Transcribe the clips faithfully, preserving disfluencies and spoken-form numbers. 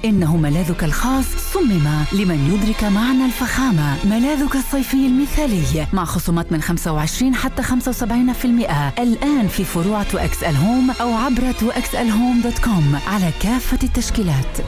إنه ملاذك الخاص صمم لمن يدرك معنى الفخامة. ملاذك الصيفي المثالي مع خصومات من خمسة وعشرين حتى خمسة وسبعين بالمئة الآن في فروع تو إكس إل هوم أو عبر تو إكس إل هوم دوت كوم على كافة التشكيلات.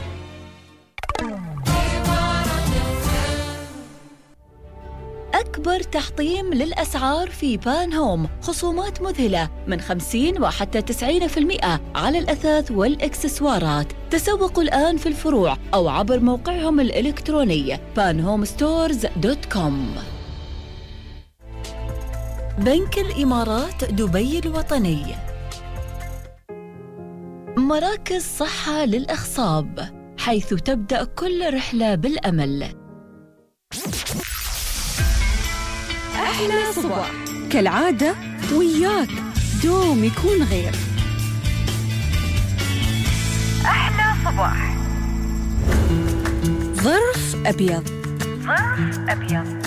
أكبر تحطيم للأسعار في بان هوم، خصومات مذهلة من خمسين وحتى تسعين بالمئة على الأثاث والإكسسوارات. تسوقوا الآن في الفروع أو عبر موقعهم الإلكتروني بان هوم ستورز دوت كوم. بنك الإمارات دبي الوطني، مراكز صحة للأخصاب، حيث تبدأ كل رحلة بالأمل. أحلى صباح كالعادة وياك دوم يكون غير. أحلى صباح. ظرف أبيض. ظرف أبيض.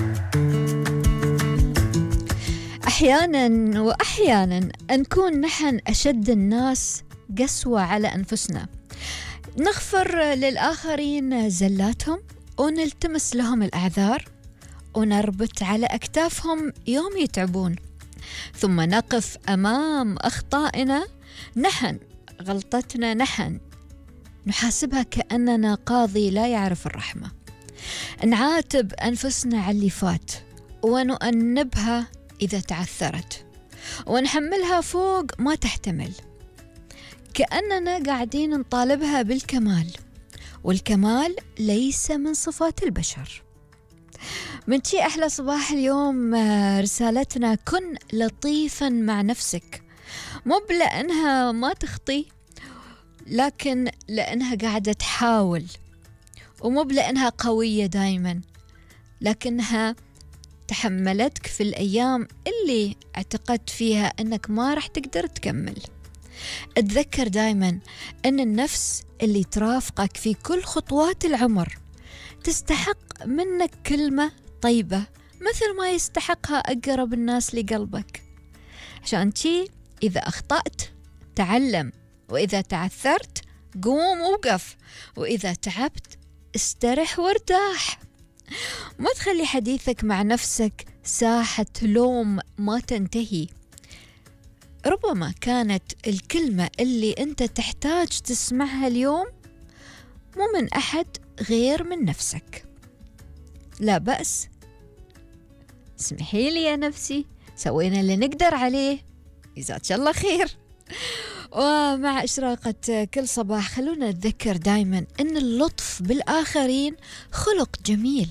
أحياناً وأحياناً نكون نحن أشد الناس قسوة على أنفسنا، نغفر للآخرين زلاتهم ونلتمس لهم الأعذار ونربط على أكتافهم يوم يتعبون، ثم نقف أمام أخطائنا نحن، غلطتنا نحن، نحاسبها كأننا قاضي لا يعرف الرحمة، نعاتب أنفسنا على اللي فات ونؤنبها إذا تعثرت ونحملها فوق ما تحتمل، كأننا قاعدين نطالبها بالكمال، والكمال ليس من صفات البشر. من شي أحلى صباح اليوم رسالتنا: كن لطيفا مع نفسك، مو لأنها ما تخطي، لكن لأنها قاعدة تحاول، ومو لأنها قوية دايما، لكنها تحملتك في الأيام اللي اعتقدت فيها أنك ما رح تقدر تكمل. اتذكر دايما أن النفس اللي ترافقك في كل خطوات العمر تستحق منك كلمة طيبة مثل ما يستحقها أقرب الناس لقلبك. عشان شي إذا أخطأت تعلم، وإذا تعثرت قوم ووقف، وإذا تعبت استرح وارتاح. ما تخلي حديثك مع نفسك ساحة لوم ما تنتهي. ربما كانت الكلمة اللي أنت تحتاج تسمعها اليوم مو من أحد غير من نفسك. لا بأس، اسمحي لي يا نفسي، سوينا اللي نقدر عليه، جزاك الله خير. ومع إشراقة كل صباح خلونا نتذكر دايما أن اللطف بالآخرين خلق جميل،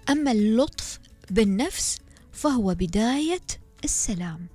أما اللطف بالنفس فهو بداية السلام.